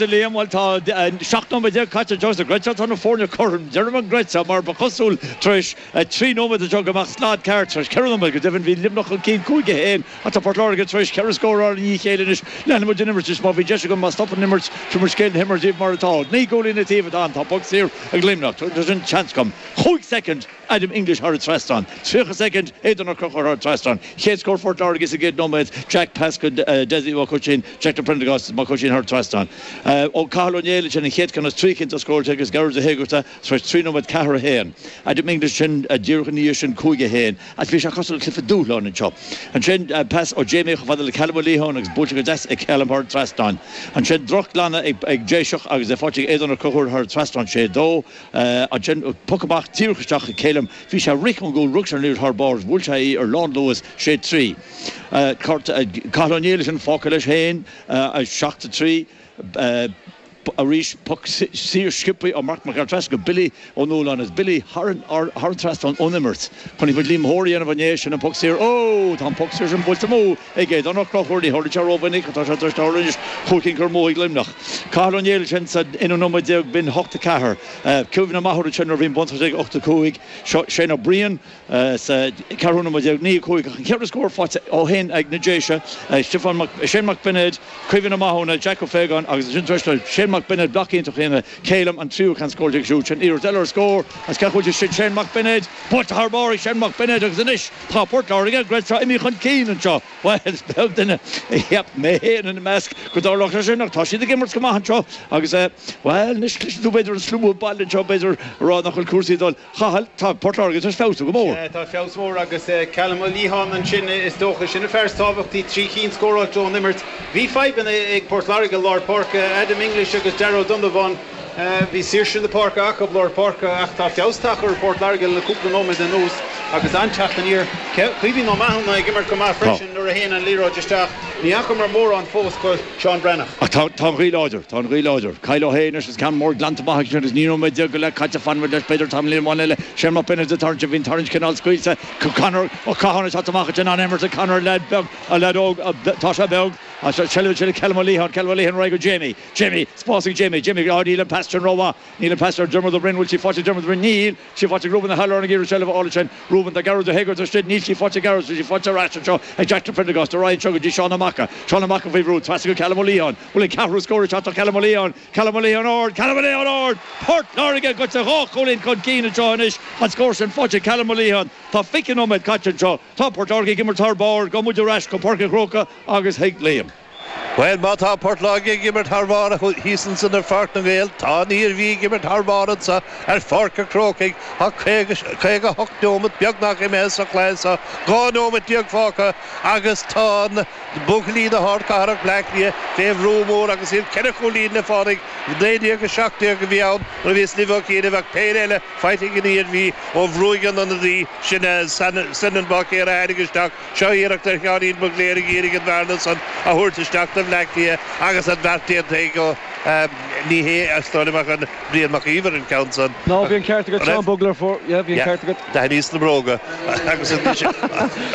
A Liam, bhuel tá 17 nóiméad caite anseo sa gcreidfeá tá na foirne cothrom. Deirim an gcreidfeá mar ba chosúil tar éis 3 nóiméad anseo go mbeadh slad ceart. Tar éis 4 nóiméad go deimhin bhí Luimneach chun cinn 5-1 ach tá Port Láirge tar éis 4 scór a fháil i ndiaidh a chéile anois. Leanfaidh muid an imirt anois má bhí deis agam má stopann an imirt tabharfaidh muid scéal na himeartha daoibh mar atá. 9 gcúilín an taobh atá ann. Tá poc saor ag Luimneach. Tá sin seans agam. 5 soicind. Adam English thar an trasnán. 30 soicind, Aodán Ó Conchúir thar an trasnán. Chéad scór Phort Láirge sa gcéad nóiméad, Jack pas go Dessie Mac Oisín, Jack de Prendergast Mac Oisín thar an trasnán. Ó Cathal Ó Néill ansin an chéad ceann as trí cinn atá scóráilte agus Gearóid Ó hÉigearta tar éis 3 nóiméad 4 1. Adam English ansin díreach ina dhiaidh sin 5 1. Ach bhí sé cosúil le cluiche dúshláin anseo. Ansin pas ó Jamie chomh fada le Callum Ó Liatháin agus buailte go deas ag Callum thar an trasnán. Ansin drochghlanadh ag Déiseach agus é faighte ag Aodán Ó Conchúir thar an trasnán 6 2. Ansin, poc amach díreach isteach ag Calum. Bhí sé ag rith ón gcúl, rug sé an liathróid thar barr agus bhuail sé í ar lánluas, 6 3. Cathal Ó Néill ansin fágtha leis féin, 7 3. Arís, poc saor sciobtha ó Marc Mac Gearailt trasna go Billy Ó Nualláin agus Billy thar an trasnán ón imirt. Chonaic muid Liam Hoare a dhéanamh inné, sin an poc saor. Ó! Tá an poc saor sin buailte amú ag Aodán Ó Conchúir. Ní tharlaíonn sé rómhinic ach tá sé tar éis tarlú anois. Chúig cinn curtha amú ag Luimneach. Cathal Ó Néill ansin sa aonú nóiméad déag, b'in 8 4. Cuimhne maith orm ansin nuair a bhí an buntáiste ag 8 5. Seo Shane Ó Briain sa ceathrú nóiméad déag, 9 5 ach an ceithre scór faighte ó shin ag na Déise, Stiofán Mac, Shane Mac Beinéid, Caoimhín Ó Mathúna, Jack Ó Faogáin agus ansin tar éis do Shane Mac Beinéid bloc iontach a dhéanamh, Calum an tríú ceann scóráilte aige siúd. Sin iarracht eile ar scór as ceathú sin Shane Mac Beinéid, buailte thar barr ag Shane Mac Beinéid agus anois tá Port Láirge, an gcreidfeá, imithe chun cinn anseo. Bhuel, is beag duine a cheap, mé féin ina measc, go dtarlódh sé sin ach tá siad ag imirt go maith anseo agus, bhuel, anois cloiseann tú b'fhéidir an slua baile anseo b'fhéidir ag rá nach bhfuil cúrsaí ag dul. Chathail, tá Port Láirge tar éis feabhsú go mór. Sea, tá feabhas mór agus Callum Ó Liatháin ansin is dócha, sin an fear is tábhachtaí, trí chinn scóráilte ón imirt. Bhí fadhbanna ag Port Láirge i lár páirce, Adam English agus Darragh Ó Donnabháin. Bhí saoirse na páirce acu, lár páirce, ach tá feabhas tagtha ar Phort Láirge le cúpla nóiméad anuas agus an-teacht aniar. Caoimhín Ó Mathúna ag imirt go maith freisin nuair a théann an liathróid isteach. Ní fhacamar mórán fós go Seán Breathnach. Ach tá an ghaoth láidir, tá an ghaoth láidir. Kyle Ó hAodha anois is ceann mór glanta amach aige sin agus 19 nóiméad go leith caite fanfaidh muid leis b'fhéidir tamaillín amháin eile. Shane Mac Beinéid ag tarraingt, bhí an tarraingt cineál scaoilte. Conor Ó Catháin ag teacht amach ansin, an-imirt ag Conor, leaid beag, leaid óg, tá sé beag. Seilbh ansin ag Callum Ó Liatháin, Callum Ó Liatháin ar aghaidh go Jamie. Jamie, spás ag Jamie, Jamie, á níl an pas sin rómhaith, níl an pas ar Dermot Ó Broin, bhfuil sí faighte ag Dermot Ó Broin, níl sí faighte ag Reuben O'Halloran ag iarraidh seilbh a fháil ansin, Reuben tá Gearóid Ó hÉigeartaigh istigh, níl sí faighte ag Gearóid, tá sí faighte ar ais anseo ag Jack de Prendergast, ar aghaidh anseo go dtí Seán Ó Maca, Seán Ó Maca faoi bhrú, trasna go Callum Ó Liatháin, bhfuil an ceathrú scór ag teacht do Callum Ó Liatháin, Callum Ó Liatháin ard, Callum Ó Liatháin ard! Port Láirge gaibhte dhá chúilín chun cinn anseo anois, an scór sin faighte ag Callum Ó Liatháin, tá 20 nóiméad caite anseo, tá Port Láirge ag imirt thar barr, gabhfaidh muid ar ais go Páirc an Chrócaigh agus chuig Liam. Bhuel, má tá Port Láirge ag imirt thar barr thíos ansan ar Pháirc na nGael, tá an Iarmhí ag imirt thar barr anso ar Pháirc an Chrócaigh. Tá 58 neomat beagnach imithe sa chluiche so, 12 neomat fágtha agus tá na buachaillí na hardchathrach, Bleá Cliath, fé bhrú mór agus iad ceithre chúilín le fáil ag 19-17 a bhí ann nuair a bhíos libh ó chianaibh ach péire eile faighte ag an Iarmhí ó bhruaigh an ionadaí sin Senan Báicéir a tháinig isteach Seo iarracht ar Sheáinín Mac Lir ag iarraidh an bhearna san a thabhairt isteach do Bhleá Cliath agus an beart déanta aige. Ní hé, is dóigh liom, ach an Brian Mac Íomhair an ceann san. No, bhí an ceart agat, Seán Bugler fuair, yeah, bhí an ceart agat. D'aithníos na bróga agus anois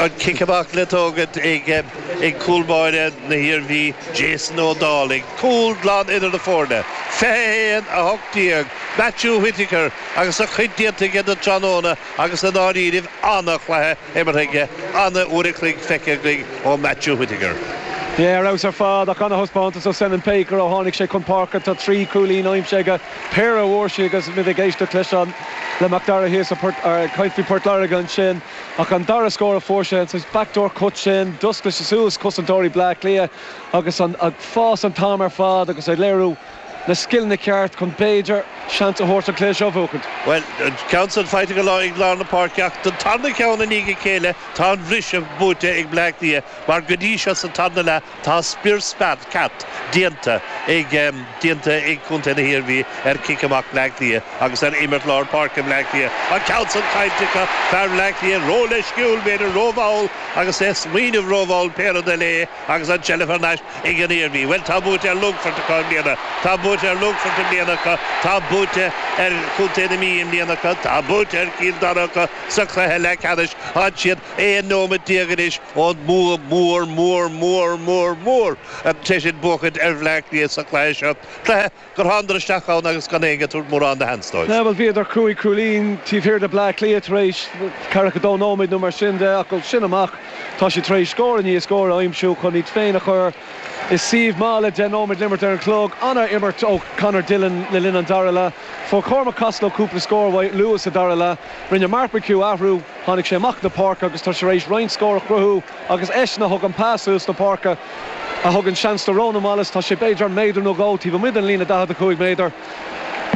an cic amach le tógaint ag cúl báire na hIarmhí, Jason Ó Dálaigh. Cúl glan idir na foirne. 21, 18, Matthew Whittaker agus a chuid déanta aige don tráthnóna agus i ndáiríribh an-chluiche imeartha aige, an-uair a chloig feicthe againn ó Matthew Whittaker. Yeah, ar fheabhas ar fad ach an-thaispeántas ó Senan Baker ó tháinig sé chun páirce. Tá 3 chúilín aimsithe aige, péire a bhfuair sé agus muid ag éisteacht leis an le Mac Dara thíos ag caint faoi Port Láirge ansin ach an dara scór a fuair sé, an saghas backdoor cut sin, d'oscail sé suas cosantóirí Bleá Cliath agus an ag fás an t-am ar fad agus ag léiriú na scileanna ceart chun b'fhéidir seans a thabhairt an cluiche seo a bhuachaint. Bhuel, an ceann san faighte ag lár ag lár na páirce ach don tarna ceann i ndiaidh a chéile tá an bhriseadh buaite ag Bleá Cliath mar go dtí seo sa tarna leath tá spior spear ceart déanta ag déanta ag Contae na hIarmhí ar chic amach Bleá Cliath agus ar imirt lár páirce Bhleá Cliath. An ceann san caillte acu, fear Bhleá Cliath ró-leisciúil, b'fhéidir rómhall agus é ag smaoineamh rómhall pé rud eile é agus an tseilbh thar n-ais ag an Iarmhí. Bhuel, tá buaite ar Longfort acu i mbliana. Tá buaite ar Longfort i mbliana acu. Tá. buaite ar chontae na Mí i mbliana acu, tá buaite ar Chill Dara acu sa chluiche leathcheannais, tá siad 11 nóiméad anois ón mbua mór, mór, mór, mór, mór, sé sin buachaint ar Bhleá Cliath sa chluiche seo, cluiche gur thánadar isteach ann agus gan éinne ag tabhairt mórán de sheans dóibh. Bhuel, bhíodar cúig chúilín taobh thiar de Bleá Cliath tar éis ceathracha dó nóiméad nó mar sin de ach ó sin amach tá siad tar éis scór i ndiaidh scóir a aimsiú chun iad féin a chur i suíomh maith le deich nóiméad le imirt ar an chlog. An-imirt ó Conor Dillon le linn an dara leath. Fuair Cormac Costello cúpla scór uaidh luath sa dara leath. Rinne Mark McHugh athrú, tháinig sé amach na páirce agus tá sé tar éis roinnt scór a chruthú agus eisean a thug an pas suas na páirce a thug an seans do Ronan Wallace. Tá sé b'fhéidir méadar nó dhó taobh amuigh den líne 45 méadar.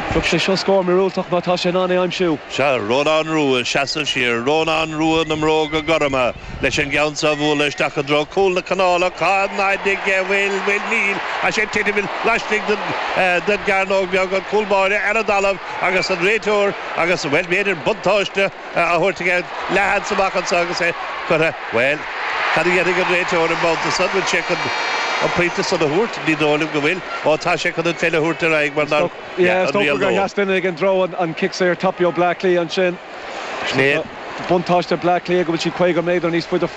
Bheadh sé seo scór míorúilteach má tá sé in ann é aimsiú. Sea, Rónán Rua ag seasamh siar, Rónán Rua na mbróga gorma leis an gceann seo a bhualadh isteach i dtreo cúl na canála. Cá fhad aige? Bhfuil, bhfuil, níl. Tá sé ag titim laistigh den, den gcearnóg bheag, an cúl báire ar an dtalamh agus an réiteoir agus, bhuel, b'fhéidir buntáiste á thabhairt aige leathsheans amach anseo agus é curtha, bhuel, cad a dhéanfaidh an réiteoir an babhta san? Bhfuil sé chun an pointe san a thabhairt? Ní dóigh liom go bhfuil. Ó, tá sé chun an pheil a thabhairt ar aghaidh mar nár, yeah, an riail gur sheas duine ag an dtreo an cic saor tapaidh ó Bleá Cliath ansin. Sin é. Buntáiste Bleá Cliath go bhfuil siad 50 méadar níos faide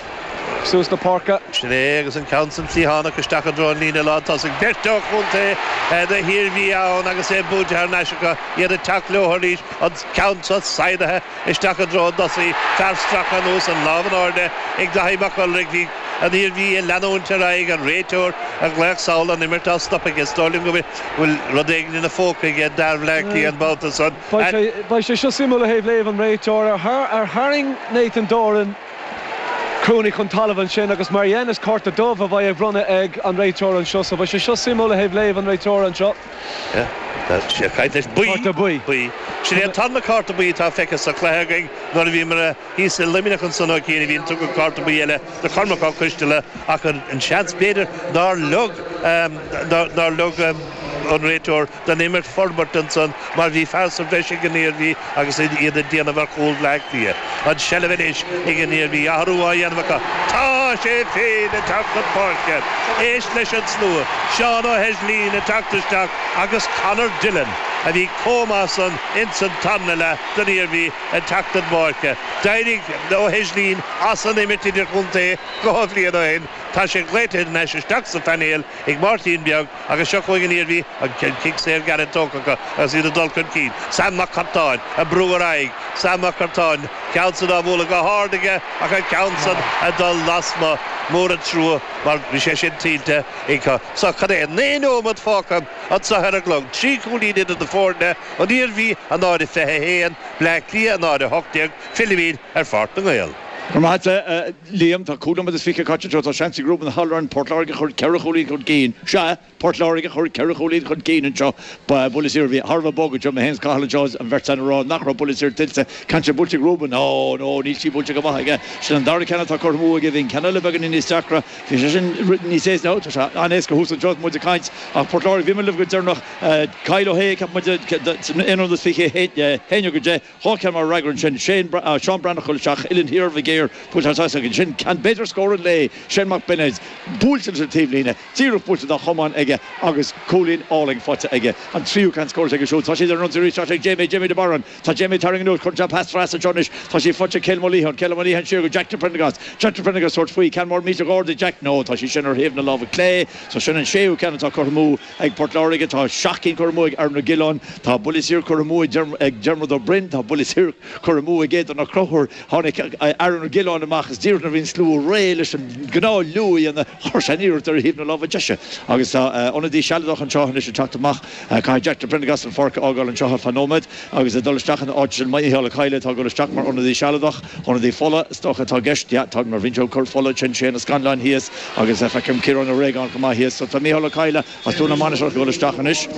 suas na páirce. Sin é agus an ceann san cliathánach isteach i dtreo an líne lántosaigh. Beirt ó chontae na hIarmhí ann agus é buaite thar n-ais acu, iad ag teacht leo arís. An ceann seo saigheadaithe isteach i dtreo an dtosaí, fear stractha anuas, an lámh in airde ag Daithí Mac Uidhir. Bhí an Iarmhí ag leanúint ar aghaidh, an réiteoir ag glaoch sall, an imirt á stopadh aige. Is dóigh liom go bhfuil rud éigin ina phóca aige d'fhear Bhleá Cliath an babhta san. Beidh sé seo suimiúil ó thaobh léamh an réiteora. Ar tharraing Nathan Doran Cooney chun talaimh ansin agus mar dhein is cárta dubh a bheidh á bhronnadh ag an réiteoir anseo. So beidh sé seo suimiúil ó thaobh léamh an réiteora anseo. Tá sé ag caint leis. Buí. Cárta buí. Buí. Sin é an tarna cárta buí atá feicthe sa chluiche againn. Nuair a bhíomar thíos i Luimneach ansan ó chianaibh bhí an tugadh cárta buí eile do Chormac Ó Coisteala ach an seans b'fhéidir nár leag nár leag an réiteoir don imirt forbairt ansan mar bhí fear sa bhreis ag an Iarmhí agus iad ag déanamh ar chúl Bhleá Cliath. An tseilbh anois ag an Iarmhí, athrú á dhéanamh acu. Tá sé féin ag teacht chun páirce. Éist leis an slua. Seán Ó hEislín ag teacht isteach agus Conor Dillon, a bhí chomh maith san ins an tarna leath don Iarmhí, ag teacht chun páirce. D'éirigh Ó hEislín as an imirt idirchontae dhá bhliain ó shin. Tá sé glaoite thar n-ais isteach sa phainéal ag Máirtín Beag. Agus seo chugainn an Iarmhí, an cic saor gairid tógtha acu agus iad ag dul chun cinn. Sam Mac Curtáin ag brú ar aghaidh. Sam Mac Curtáin, ceann san á bhualadh go hard aige ach an ceann san ag dul lasmuigh. Mór an trua mar bhí sé sin tuillte acu. So, cad é, 9 nóiméad fágtha anseo ar an gclog. 3 chúilín idir na foirne, an Iarmhí 0-21, Bleá Cliath 0-18. Fillimid ar Pháirc na nGael. Go raibh maith agat, a Liam. Tá cúig nóiméad is fiche caite anseo. Tá seans ag Reuben Halloran Port Láirge a chur ceithre chúilín chun cinn. Sea, Port Láirge a chur ceithre chúilín chun cinn anseo. Buille saor. Bhí thar a bheith bog anseo. Mé féin is Cathal anseo is an bheirt againn ag rá nach raibh buille saor tuillte. Ceann sin buailte ag Reuben. Ó, no, níl sí buailte go maith aige. Sin an dara ceann atá curtha amú aige. Bhí an ceann eile beagáinín níos deacra. Bhí sé sin níos éasca. Tá sé an-éasca thuas anseo is muid ag caint. Ach Port Láirge, bhíomar libh go deireanach. Kyle O'Hea, ceapann muid, san aon rud is 21 go 10. Dhá cheann mar fhreagra ansin, Shane, Seán Breathnach ag dul isteach, uillinn thiar Mhig Uidhir, buailte thar trasna ansin, ceann b'fhéidir scór an lae, Shane Mac Bionaid, buailte leis an taobhlíne, díreach buailte dá chamán aige agus cúilín álainn faighte aige. An tríú ceann scóráilte aige siúd. Tá siad ar an ionsaí arís, tá sé ag Jamie, Jamie de Barún. Tá Jamie ag tarraingt anuas, cuireann sé pas trasna anseo anois, tá sí faighte ag Calum Ó Liatháin, Calum Ó Liatháin siar go Jack de Prendergast, Jack de Prendergast tabhairt faoi, ceann mór millteach ard ag Jack, no, tá sí sin ar thaobh na láimhe clé, so sin an séú ceann atá curtha amú. Ag Port Láirge tá seacht gcinn curtha amú ag Aaron Ó Giolláin, tá buille saor curtha amú ag Diarmuid Ó Broin, tá buille saor curtha amú ag Aodán Ó Conchúir. Tháinig Aaron Ó Giolláin amach is díreach nuair a bhí an slua réidh leis an ngnáthliú a dhéanamh, chuir sé an iarracht ar thaobh na láimhe deise. Agus tá ionadaí sealadach anseo anois ag teacht amach. Caithfidh Jack de Prendergast an pháirc a fhágáil anseo ar feadh nóiméad agus ag dul isteach ina áit sin Mícheál Ó Cadhla atá ag dul isteach mar ionadaí sealadach. Ionadaí fola, is dócha, atá i gceist. Yeah, tá, mar bhíonn sé ag cur fola ansin, Shane Ó Scanláin thíos agus feicim Ciarán Ó Réagáin chomh maith thíos. So tá Mícheál Ó Cadhla as Dún na Mainistreach ag dul isteach anois.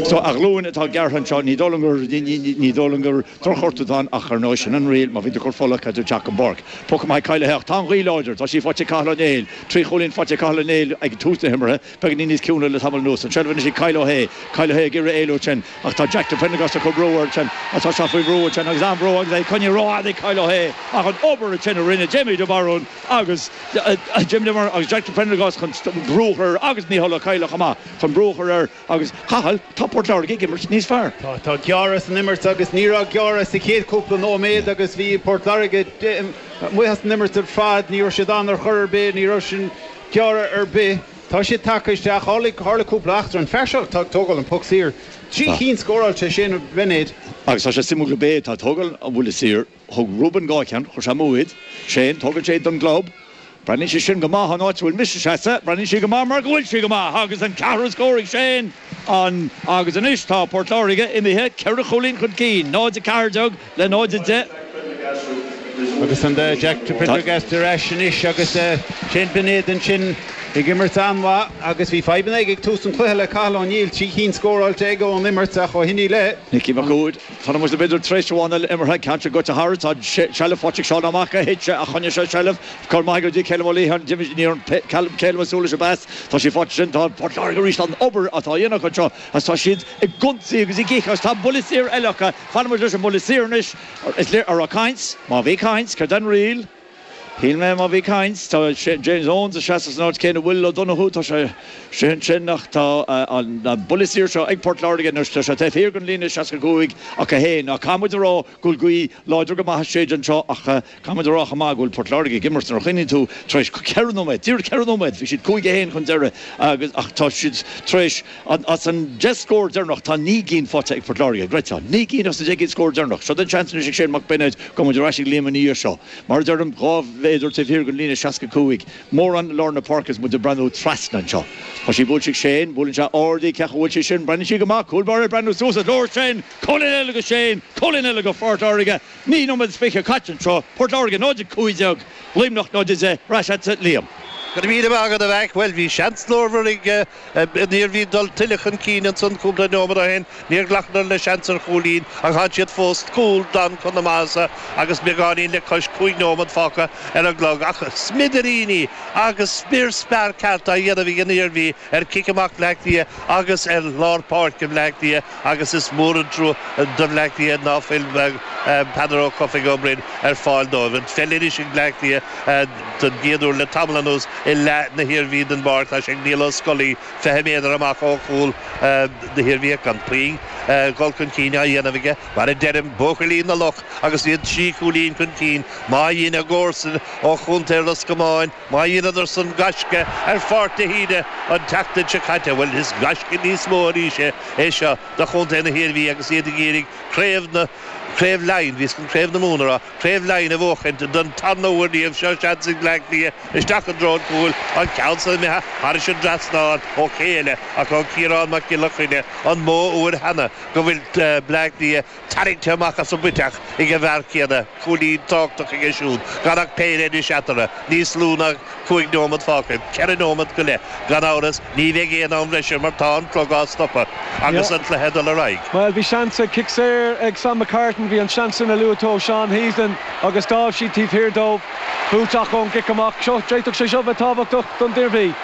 So a ghlúin atá gearrtha anseo, ní dóigh liom gur, ní dóigh liom gur drochghortú atá ann ach ar ndóigh sin an riail, má bhíonn tú ag cur fola caithfidh tú teacht chun páirc. Poc amach ag Kyle Ó hAodha ach tá an ghaoth láidir, tá sí faighte ag Cathal Ó Néill, trí chúilín faighte ag Cathal Ó Néill ag tús na himeartha, beagáinín níos ciúine le tamall anuas. An tseilbh anois ag Kyle Ó hAodha, Kyle Ó hAodha ag iarraidh éalú ansin ach tá Jack de Prendergast ag cur brú air ansin ach tá sé faoi bhrú ansin agus an-bhrú agus é coinnithe rófhada ag Kyle Ó hAodha ach an obair ansin a rinne Jamie de Barún agus Jamie de Barún agus Jack de Prendergast chun brú a chur air agus Mícheál Ó Cadhla chomh maith chun brú a chur air agus Cathal. Tá Port Láirge ag imirt níos fearr. Tá, tá gearradh san imirt agus ní raibh gearradh sa chéad chúpla nóiméad agus bhí Port Láirge amuigh as an imirt ar fad, ní raibh siad ann ar chor ar bith, ní raibh sin gearradh ar bith. Tá siad tagtha isteach, tharla, tharla cúpla eachtra, an fear seo atá ag tógáil an poc saor, 3 chinn scóráilte, Shane Beinéad. Agus tá sé suimiúil gurb é atá ag tógáil an bhuille saor. Thug Reuben 2 cheann, chuir sé amú iad. Shane, tógann sé iad don gclub. Breathnaíonn sé sin go maith an áit a bhfuil mise seasta. Breathnaíonn sé go maith mar go bhfuil sé go maith agus an ceathrú scór ag Shane an agus anois tá Port Láirge imithe ceithre chúilín chun cinn, 0-14 le 0-10. Agus an Jack Prendergast ar ais anois agus Shane Beinéad ansin ag imirt an-mhaith agus bhí fadhbanna aige ag tús an chluiche le Cathal O'Neill, 3 chinn scóráilte aige ón imirt ach ó shin i leith. Nicky Mac Uaid. Fanann muid b'fhéidir tar éis amháin eile imeartha, ceann seo goite thairis, tá seilbh faighte ag Seán Ó Maca, thit sé ach choinnigh sé seilbh, cur maith go dtí Calum Ó Liatháin, d'imigh, ní raibh Calum ag súil leis an bpas, tá sí faighte sin, tá Port Láirge arís, an obair atá á dhéanamh acu anseo agus tá siad ag ionsaí agus ag ithe agus tá buille saor eile acu, fanann muid leis an mbuille saor anois, is léir, an raibh caint? Má bhí caint, céard é an riail? Shíl mé má bhí caint, tá James Owens ag seasamh san áit céanna a bhfuil O'Donoghue, tá sé sé ansin ach tá an buille saor seo ag Port Láirge anois, tá sé taobh thiar den líne 65 acu féin. Ach caithfidh muid a rá go bhfuil gaoth láidir go maith ag séideadh anseo ach caithfidh muid a rá chomh maith go bhfuil Port Láirge ag imirt nuair a chuimhníonn tú tar éis ceithre nóiméad, díreach ceithre nóiméad, bhí siad 5-1 chun deiridh agus ach tá siad tar éis As an 10 scór deireanach, tá 9 gcinn faighte ag Port Láirge. Greta, 9 gcinn as na 10 gcinn scór deireanach. Seo den seans anois ag Shane Mac Beinéid go mbeidh muid ar ais ag Liam ina dhiaidh seo. Mar a deirim, 2 mhéadar taobh thiar den líne 65. Mórán i lár na páirce is muid ag breathnú trasna anseo. Tá sí buailte ag Shane, buaileann sé ard í, cén chaoi a bhfuil sí sin? Breathnaíonn sí go maith, cúl báire ag breathnú suas is leor sin! Cúilín eile do Shane, cúilín eile do Phort Láirge. 9 nóiméad is 20 caite anseo, Port Láirge 0-15, Luimneach 0-10, ar ais agatsa Liam. Go raibh míle maith agat a Mheaic. Bhuel, bhí seans glórmhar ag an Iarmhí dul tuilleadh chun cinn ansan cúpla nóiméad ó shin. Níor ghlacadar le seans ar chúilín ach tá siad fós cúl glan chun na maitheasa agus beagáinín le cois 5 nóiméad fágtha ar an gclog. Ach smidiríní agus spior spear ceart á dhéanamh ag an Iarmhí ar chic amach Bhleá Cliath agus ar lár páirce Bhleá Cliath agus is mór an trua do Bhleá Cliath ná fuil Peadar Ó Cofaigh Ó Broin ar fáil dóibh. An pheil anois ag Bleá Cliath don gcéad uair le tamall anuas i leath na hIarmhí den bpáirc. Tá sé ag Niall Ó Scolaí, 20 méadar amach ó chúl na hIarmhí ach gan puinn dul chun cinn á dhéanamh aige. Mar a deirim, buachaillí na Loch agus iad trí chúilín chun cinn. Má dhein a gcomharsain ó chontae Ros Comáin, Má dheineadar san gaisce ar Pháirc de hÍde an tseachtain seo caite, bhuel, is gaisce níos mó arís é seo do chontae na hIarmhí agus iad ag iarraidh Craobh na, Craobh Laighean, bhíos chun Craobh na Mumhan a rá, Craobh Laighean a bhuachaint don tarna huair riamh. Seo seans ag Bleá Cliath isteach i dtreo an chúil, an ceann san imithe thairis an dtrasnán ó ché eile ach ó Ciarán Mac Giolla Chainnigh, an mó uair cheana go bhfuil Bleá Cliath tarraingthe amach as an bpuiteach ag an bhfear céanna, cúilín tábhachtach aige siúd, gan ach péire anois eatarthu, níos lú ná 5 nóiméad fágtha, 4 nóiméad go leith. Gan amhras, ní bheidh aon am bhreise mar tá an clog á stopadh agus an cluiche ag dul ar aghaidh. Bhuel, bhí seans ag cic saor ag Sam McCartan, bhí an seans sin a luaigh tú ó Seán Heaslin agus d'fhág siad taobh thiar dóibh. Buailte ach ón gcic amach seo, d'fhéadfadh sé seo bheith tábhachtach don Iarmhí.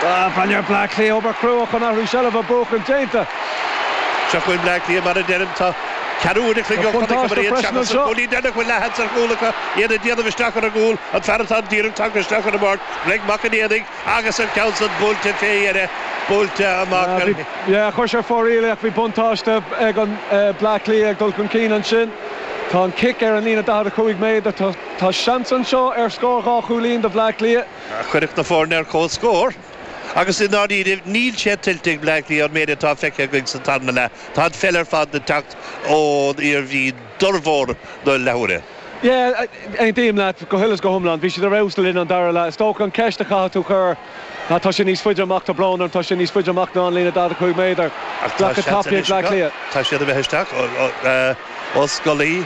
Breathnaigh ar Bleá Cliath, obair chrua chun athrú seilbhe a bhuachan déanta. Seo chugainn Bleá Cliath, mar a deirim, tá ceathrú uair a chloig ó chonaiceamar iad seachas an cúilín deireanach bhfuil leathsheans ar chúl acu, iad ag déanamh isteach ar an gcúl, an fear atá díreach tagtha isteach ar an bpáirc, Greg Mac an Éadaigh, agus an ceann san buailte fé dheireadh, buailte amach ar. Yeah, chuir sé fóraoil é ach bhí buntáiste ag an Bleá Cliath ag dul chun cinn ansin. Tá an cic ar an líne 45 méadar. Tá seans anseo ar scór dhá chúilín do Bhleá Cliath. Chuirfeadh na foirne ar comhscór agus i ndáiríre níl sé tuillte ag Bleá Cliath an méid atá feicthe againn sa tarna leath. Tá an pheil ar fad ag teacht ón Iarmhí d'fhormhór na leathuaire. Yeah, aontaím leat go huile is go hiomlán. Bhí siad ar fheabhas le linn an dara leath. Is dócha an ceist a chaithfidh tú chur ná tá sé níos faide amach, tá brón orm, tá sé níos faide amach ná an líne 45 méadar. Ach tá Glacadh seans tapaidh ag anois Bleá acu. Cliath. Tá siad imithe isteach. Ó Scolaí,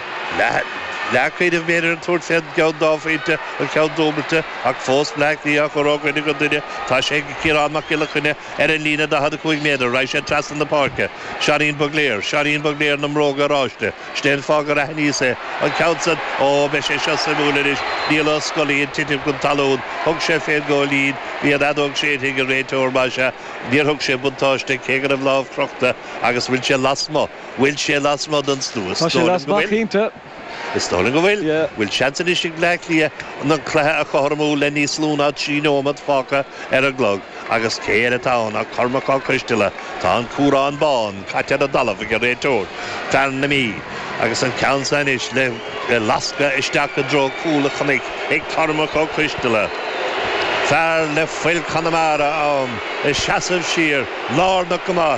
leathchuid b'fhéidir ag tabhairt fén gceann dá phointe, an ceann dúbailte, ach fós Bleá Cliath á chur ó dhuine go duine. Tá sé ag Ciarán Mac Giolla Chainnigh ar an líne 45 méadar. Raghaidh sé trasna na páirce. Seáinín Bugler, Seáinín Bugler na mbróga oráiste. Sin é an fáth gur aithníos é. An ceann san, ó, beidh sé seo suimiúil anois. Niall Ó Scolaí ag titim chun talún. Thug sé fén ngóilín. Bhí an fheadóg séidte ag an réiteoir, más ea. Níor thug sé buntáiste, cé go raibh lámh crochta agus bhfuil sé lasmuigh. Bhfuil sé lasmuigh den stua? Tá sé lasmuigh, cinnte. Is dóigh liom go bhfuil. Bhfuil seans anois ag Bleá Cliath an cluiche a chothromú le níos lú ná 3 nóiméad fágtha ar an gclog agus cé eile atá ann ach Cormac Ó Coisteala. Tá an cumhrán bán caite ar an dtalamh ag an réiteoir, fear na Mí, agus an ceann seo anois le lascadh isteach i dtreo cúl an chnoic ag Cormac Ó Coisteala. Fear le fuil Conamara ann, ag seasamh siar, lárnach go maith.